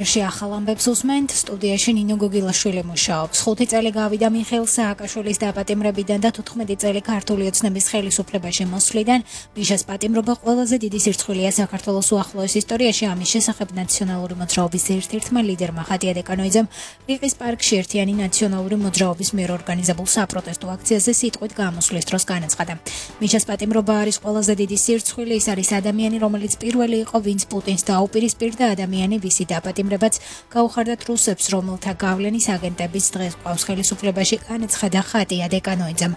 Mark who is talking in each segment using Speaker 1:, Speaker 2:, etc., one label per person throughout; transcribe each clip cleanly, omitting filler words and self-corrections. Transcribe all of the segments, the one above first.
Speaker 1: ახალ ამბებს უსმენთ, სტუდიაში ნინო გოგილაშვილი მუშაობს. 5 წელი გავიდა მიხეილ სააკაშვილის დაპატიმრებიდან და 14 წელი ქართული ოცნების ხელისუფლებაში მოსვლიდან. მიშას პატიმრობა ყველაზე დიდი სირცხვილია საქართველოს უახლოეს ისტორიაში. ამის შესახებ ნაციონალური მოძრაობის ერთ-ერთმა ლიდერმა ხატია დეკანოიძემ რიყის პარკში ერთიანი ნაციონალური მოძრაობის მიერ ორგანიზებულ საპროტესტო აქციაზე სიტყვით გამოსვლის დროს განაცხადა. მიშას პატიმრობა არის ყველაზე დიდი სირცხვილი, ის არის ადამიანი, რომელიც პირველი იყო, ვინც პუტინს დაუპირისპირდა, ადამიანი, ვისი დაპატიმრება გაუხარდათ რუსებს, რომელთა გავლენის აგენტების დღეს ყავს ხელისუფლებაში, განაცხადა ხატია დეკანოიძემ.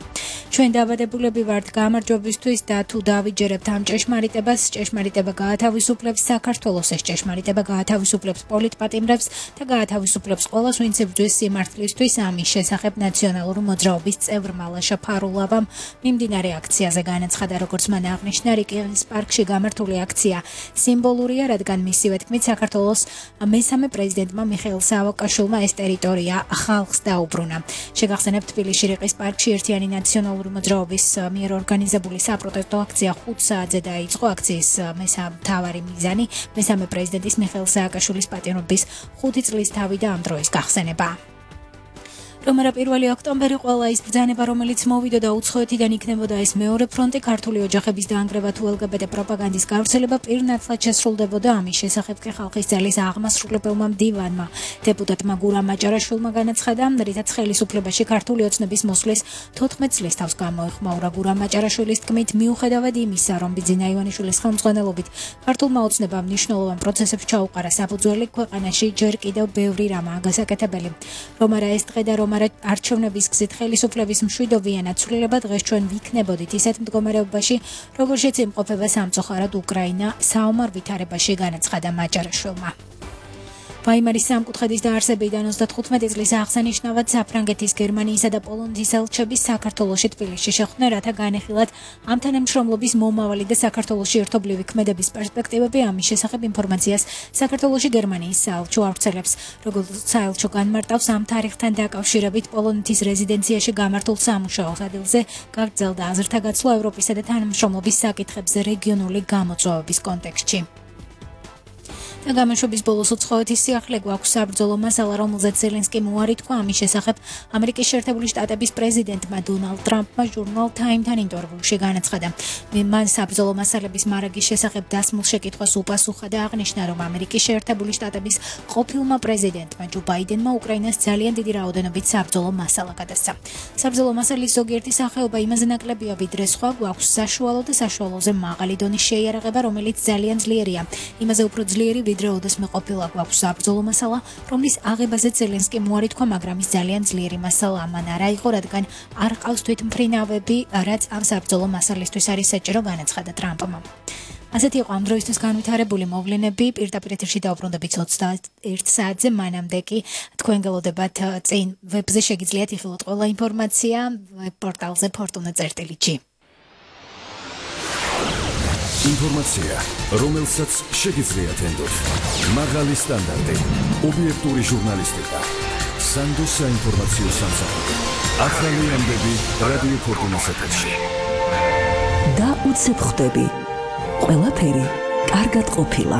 Speaker 1: ჩვენ დაბადებულები ვართ გამარჯვებისთვის და თუ დავიჯერებთ ამ ჭეშმარიტებას, ჭეშმარიტება გაათავისუფლებს საქართველოს, ეს ჭეშმარიტება გაათავისუფლებს პოლიტპატიმრებს და გაათავისუფლებს ყველას, ვინც იბრძვის სიმართლისთვის. ამის შესახებ ნაციონალური მოძრაობის წევრმა ლაშა ფარულავამ მიმდინარე აქციაზე განაცხადა, როგორც მან აღნიშნა, რიყის პარკში გამართული აქცია სიმბოლურია, რადგან მისივე თქმით საქართველოს მესამე პრეზიდენტმა მიხეილ სააკაშვილმა ეს ტერიტორია ხალხს დაუბრუნა. შეგახსენებთ, თბილისში რიყის პარკში ერთიანი ნაციონალური მოძრაობის მიერ ორგანიზებული საპროტესტო აქცია 5 საათზე დაიწყო. აქციის მთავარი მიზანი მესამე პრეზიდენტის მიხეილ სააკაშვილის პატიმრობის 5 წლის თავი და ამ დროის გახსენება. რომარა 1 ოქტომბერი ყველა ის ბრძანება, რომელიც მოვიდოდა უცხოეთიდან, იქნებოდა ეს მეორე ფრონტი, ქართული ოჯახების დაანგრევა თუ LGBT პროპაგანდის გავრცელება პირნათლად შესრულდებოდა. ამის შესახებ კი ხალხის ძალის აღმასრულებელმა მდივანმა დეპუტატმა გურამ მაჭარაშვილმა განაცხადა, რითაც ხელისუფლებაში ქართული ოცნების მოსვლის 14 წლის თავს გამოეხმაურა. გურამ მაჭარაშვილის თქმით, მიუხედავად იმისა, რომ ბიძინა ივანიშვილის ხელმძღვანელობით ქართულმა ოცნებამ მნიშვნელოვან პროცესებს ჩაუყარა საფუძველი, ქვეყანაში ჯერ კიდევ ბევრი რამაა გასაკეთებელი. რომარა ეს დღე და არჩევნების გზით ხელისუფლების მშვიდობიანად ცვლილება, დღეს ჩვენ ვიქნებოდით ისეთ მდგომარეობაში, როგორშიც იმყოფება სამწუხაროდ უკრაინა, საომარ ვითარებაში, განაცხადა მაჭარაშვილმა. ვაიმარის სამკუთხედის დაარსებიდან 35 წლის აღსანიშნავად საფრანგეთის, გერმანიისა და პოლონეთის ელჩები საქართველოში თბილისში შეხვდნენ, რათა განეხილათ ამ თანამშრომლობის მომავალი და საქართველოში ერთობლივი ქმედების პერსპექტივები. ამის შესახებ ინფორმაციას საქართველოში გერმანიის საელჩო ავრცელებს. როგორც საელჩო განმარტავს, ამ თარიღთან დაკავშირებით პოლონეთის რეზიდენციაში გამართულ სამუშაო ადგილზე გაგრძელდა აზრთა გაცვლა ევროპისა და თანამშრომლობის საკითხებზე რეგიონული გამოწვევების კონტექსტში. და გამოშვების ბოლოს უცხოეთის სიახლე გვაქვს საბრძოლო მასალა, რომელზეც ზელენსკიმ უარი თქვა. ამის შესახებ ამერიკის შეერთებული შტატების პრეზიდენტმა დონალდ ტრამპმა ჟურნალ Time-თან ინტერვიუში განაცხადა. მან საბრძოლო მასალების მარაგის შესახებ დასმულ შეკითხვას უპასუხა და აღნიშნა, რომ ამერიკის შეერთებული შტატების ყოფილმა პრეზიდენტმა ჯო ბაიდენმა უკრაინას ძალიან დიდი რაოდენობით საბრძოლო მასალა გადასცა. საბრძოლო მასალის ზოგიერთი სახეობა იმაზე ნაკლებია, ვიდრე სხვა, გვაქვს საშუალო და საშუალოზე მაღალი დონის შეიარაღება, რომელიც ძალიან ძლიერია. იმაზე უფრო ძლიერი ვიდრე ოდესმე ყოფილა გვაქვს საბრძოლო მასალა, რომლის აღებაზე ზელენსკიმ უარი თქვა, მაგრამ ის ძალიან ძლიერი მასალა ამან არა იყო, რადგან არ ყავს თვითმფრინავები, რაც ამ საბრძოლო მასალისთვის არის საჭირო, განაცხადა ტრამპმა. ასეთი იყო ამ დროისთვის განვითარებული მოვლენები. პირდაპირ ეთერში დავბრუნდებით 21 საათზე, მანამდე კი თქვენ გელოდებათ წინ ვებზე შეგიძლიათ იხილოთ ყველა ინფორმაცია პორტალზე fortuna.gr.
Speaker 2: ინფორმაცია, რომელსაც შეგიძლიათ ენდოთ. მაღალი სტანდარტი, ობიექტური ჟურნალისტიკა, სანდო საინფორმაციო სამსახური. ახალი ამბები რადიო ფორტუნას ეთერში.
Speaker 3: და უცებ ხვდები. ყველაფერი კარგად ყოფილა.